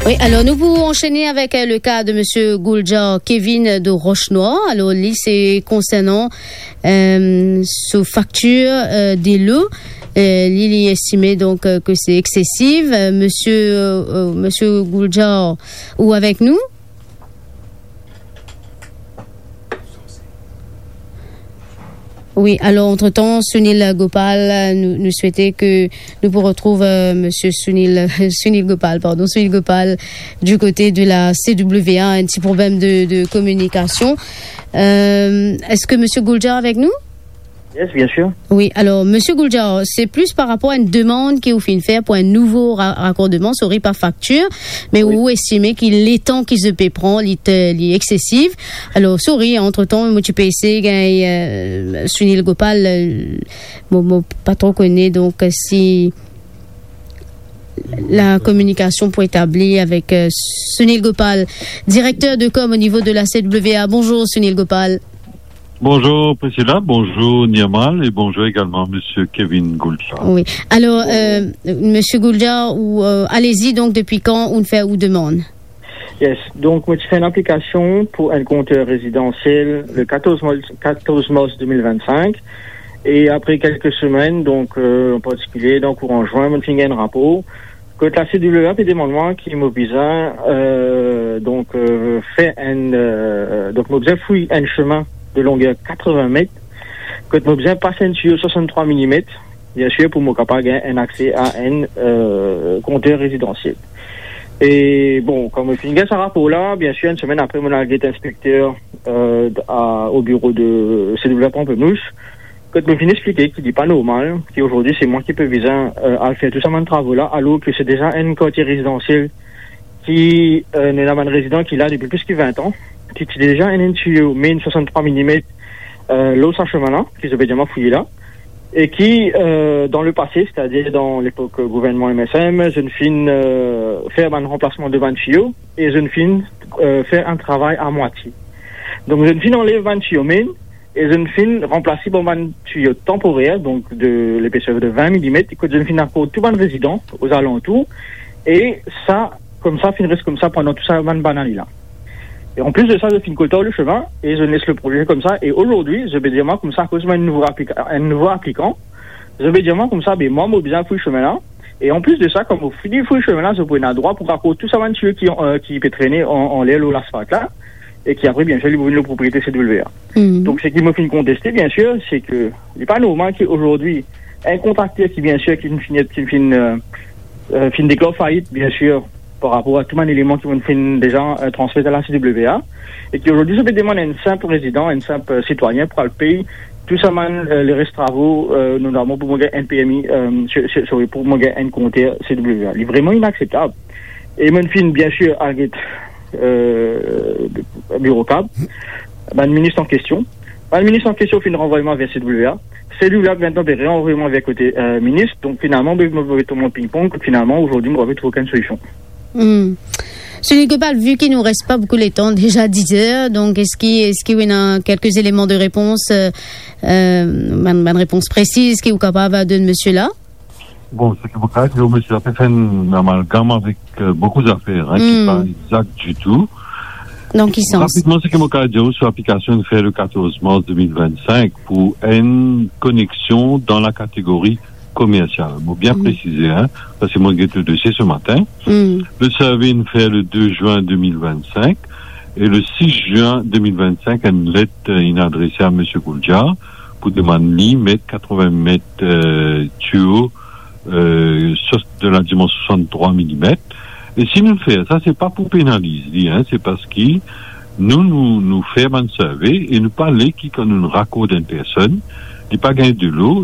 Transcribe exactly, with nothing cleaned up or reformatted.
Oui, alors nous pouvons enchaîner avec euh, le cas de monsieur Gouljar Kevin de Roche-Noire. Alors, lui, c'est concernant euh, sous facture euh, de l'eau. Euh, li, li estimé donc euh, que c'est excessif. Euh, monsieur, euh, euh, monsieur Gouljar, ou avec nous ? Oui, alors entre-temps, Sunil Gopal, euh, nous, nous souhaitait que nous pourrons retrouver euh, monsieur Sunil, Sunil Gopal, pardon, Sunil Gopal du côté de la C W A, un petit problème de, de communication. Euh, est-ce que monsieur Gouljar avec nous ? Yes, bien sûr. Oui, alors, monsieur Gouljar, c'est plus par rapport à une demande ki ou finn fer pour un nouveau ra-, raccordement, sorry, par facture, mais Oui. ou estimé que le temps ki zot pe pran, li te, li excessif. Alors, sorry, entre-temps, moi, tu peux essayer, euh, Sunil Gopal, euh, bon, bon, pas trop connu, donc, euh, si la communication pour établir avec euh, Sunil Gopal, directeur de com au niveau de la C W A. Bonjour, Sunil Gopal. Bonjour Priscilla, bonjour Nirmal et bonjour également monsieur Kevin Gouljar. Oui. Alors, euh, monsieur Gouljar, ou, euh, allez-y, donc depuis quand ou fait ou demande ? Yes, donk mo ti fer enn aplikasion pou enn konter rezidansiel le quatorze mars, quatorze mars deux mille vingt-cinq. E apre kelke semenn, donk, euh, an partikilie, dan kouran zwin, mo finn gagn enn rapor kot la C W A pe demann mwa ki mo bizin, euh, donk, euh, fer enn, euh, donk mo bizin fouy enn semin de longer katrevin met, kot mo bizin pas enn tiyo swasanntrwa milimet, biensir, pou mo kapav gagn enn akse a enn, euh, konter rezidansiel. E bon, kan mo finn gagn sa rapor la, biensir, enn semenn apre, mo al get inspekter, euh, a, o biro de C W A Pamplemousse, kot mo finn explike ki li pa normal, ki azordi se mwa ki pe bizin, euh, al fer tou sa bann travo la, alor ki se deza enn kartie rezidansiel ki, euh, ena bann rezidan ki la depi plis ki vin an, ki ti deza ena enn tiyo main swasanntrwa milimet, euh, lor sa semin la, ki zot pe dir mwa fouye la, e ki, euh, dan lepase, setadir dan lepok gouvernman M S M, zot finn, euh, fer bann ranplasman de bann tiyo, e zot finn, euh, fer enn travay a mwatie. Donk, zot finn anlev bann tiyo main, e zot finn ranplas li par bann tiyo tanporer, donk de lepeser de vin milimet, kot zot finn akord tou bann rezidan ozalantour, e sa, koumsa, finn res koumsa pandan tou sa bann, bann ane la. E anplis de sa, zot finn koltar le semin, e zot les le proze koumsa, e azordi, zot pe dir mwa koumsa, akoz mo enn nouvo aplika-, enn nouvo aplikan, zot pe dir mwa koumsa, be mwa, mo bizin fouy semin la, e anplis de sa, kan mo fini fouy semin la, zot pou ena drwa pou rakord tou sa bann tiyo ki, euh, ki pe trene an, anler lor laspalt la, e ki apre, biensir, li pou vinn lor propriete C W A. Hmm. Donk, seki mo finn konteste, biensir, se ke li pa normal ki azordi, enn kontrakter ki, biensir, ki finn, ki finn, euh, euh, finn deklar fait, biensir, par rapor a tou bann eleman ki mo finn deza, euh, transmet a la C W A, e ki azordi, zot pe demann enn sinp rezidan, enn sinp, euh, sitwayin pou al pey tou sa bann, euh, leres travo, euh, notaman pou mo gagn enn P M I, euh, se, se, sorry, pou mo gagn enn konter C W A. Li vreman inakseptab. E mo finn, biensir, al get, euh, biro kab, bann minis an kestion. Bann minis an kestion finn ranvway mwa ver C W A. C W A, vinn pe ranvway mwa ver kote, euh, minis. Donk, finalman, be, mo, mo, mo ping-pong, finalman, azordi, mo pa pe trouv okenn solision. Hmm. Sunil Gopal, vu qu'il nous reste pas beaucoup de temps, déjà dix heures, donc est-ce qu'il, est-ce qu'il y a quelques éléments de réponse, euh, euh, une, une réponse précise ki ou kapav donn monsieur la ? Bon, seki mo kapav dir, misie la pe fer enn amalgam avek, euh, boukou zafer, hein, ki Hmm. pa egzak ditou. Dan ki sans ? Rapidman, seki mo kapav dir, sou aplikasion finn fer le quatorze mars deux mille vingt-cinq pou enn koneksion dan la kategori komersial. Mo bien Hmm. presize, hein, parski mo get le dosie se matin. Hmm. Le survey inn fer le deux juin deux mille vingt-cinq, e le six juin deux mille vingt-cinq, enn let, euh, inn adrese a misie Gouljar pou demann li met katrevin met, euh, tiyo, euh, so-, de la dimansio swasanntrwa milimet. E si nou fer sa, se pa pou penaliz li, hein, se parski nou, nou, nou fer bann survey e nou pa le ki kan nou rakord enn personn, li pa gagn delo,